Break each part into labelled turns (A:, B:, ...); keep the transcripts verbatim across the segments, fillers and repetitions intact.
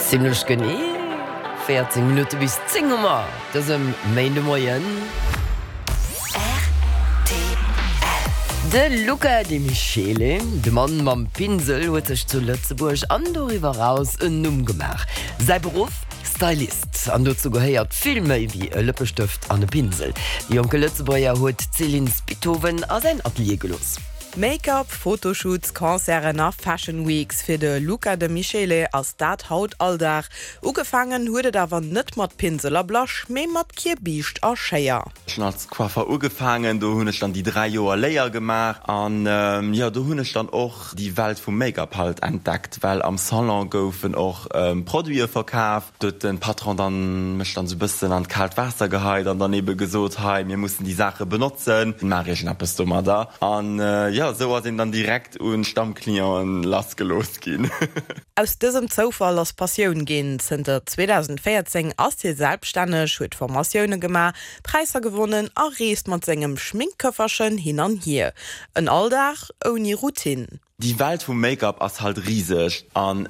A: Zimmlech genee véierzéng Minutte bis zéng hu mer dësem Méindemoien. De Luca De Michele, de Mann mam Pinsel, huet sech zu Lëtzebuerg an doriwwer eraus en Numm gemaach. Säi Beruff, Stylist. An dozou gehéiert vill méi wéi e Lëppestëft an e Pinsel. De jonke Lëtzebuerger huet d'Céline Spithoven a säin Atelier gelooss.
B: Make-up, Fotoshoots, Concerten a Fashion Weeks, fir de Luca De Michele ass dat haut Alldag. Ugefaangen huet et awer net mat Pinsel a Blush, mee mat Kierbiischt a Schéier.
C: Ech hunn als Coiffer ugefaangen, do hunn ech dann déi dräi Joer Léier gemaach an jo, do hunn ech dann och déi Welt vum Make-up halt entdeckt, well am Salon goufen och Produite verkaf. Do huet de Patron dann mech dann esou bëssen an d'kaalt Waasser geheit an dann ebe gesot, hei mir mussen déi Saache benotzen, maach iergendeppes domadder. An jo, esou ass een dann direkt un Stammclienten lassgelooss ginn.
B: Aus dësem Zoufall ass Passioun ginn. Zënter zweedausendvéierzéng ass hie selbststänneg, huet Formatioune gemaach, Präisser gewonnen a reest mat sengem Schminkköfferchen hin an hier. En Alldag ouni Routine.
C: Déi Welt vum Make-up ass halt riseg an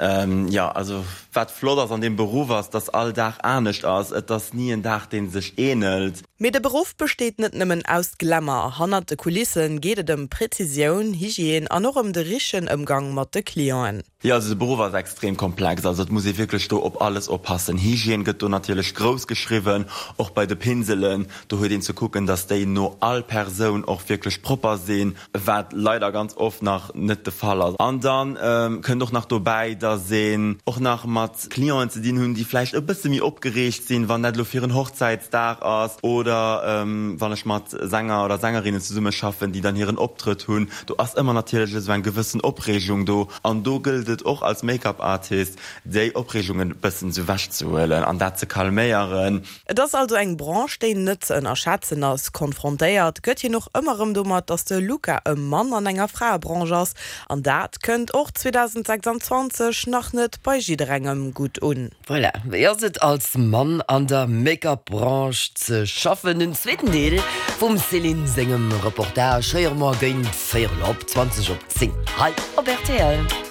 C: jo, also wat flott ass an deem Beruff ass, dass all Dag anescht ass, et ass ni en Dag deen sech ähnelt.
B: Mee de Beruff besteet net nëmmen aus Glamour. Hannert de Kulisse geet et ëm Präzisioun, Hygiène an och ëm de richtegen Ëmgang mat de Clienten.
C: Jo, also de Beruff ass extrem komplex, also et muss ee wierklech do op alles oppassen. Hygiène gëtt do natierlech grouss geschriwwen, och bei de Pinselen, do huet een ze kucken, dass déi no all Persoun och wierklech propper sinn, wat leider ganz oft nach net de Fall ass. An dann kënnt och nach dobäi, dass een och nach mat Clienten ze dinn hunn, déi vläicht e bësse méi opgereegt sinn, wann dat elo fir en Hochzäitsdag ass oder wann ech mat Sänger oder Sängerinnen zesummeschaffen, déi dann hiren Optrëtt hunn. Do ass ëmmer natierlech esou eng gewëssen Opreegung do an do gëllt et och als Make-up Artist, déi Opreegung e bëssen esou wechzehuelen an dat ze calméieren.
B: Et ass also eng Branche, déi net ze ënnerschätzen ass. Konfrontéiert gëtt hien och ëmmer erëm domat, datt de Luca e Mann an enger Fraebranche ass. An dat kënnt och zweedausendsechsanzwanzeg nach net bei jidderengem gutt un.
A: Voilà, wéi ass et als Mann an der Make-up-Branche ze schaffen? Den zweeten Deel vum Céline sengem Reportage héiere mer géint véierel op, zwanzeg op zéng hei op rtl.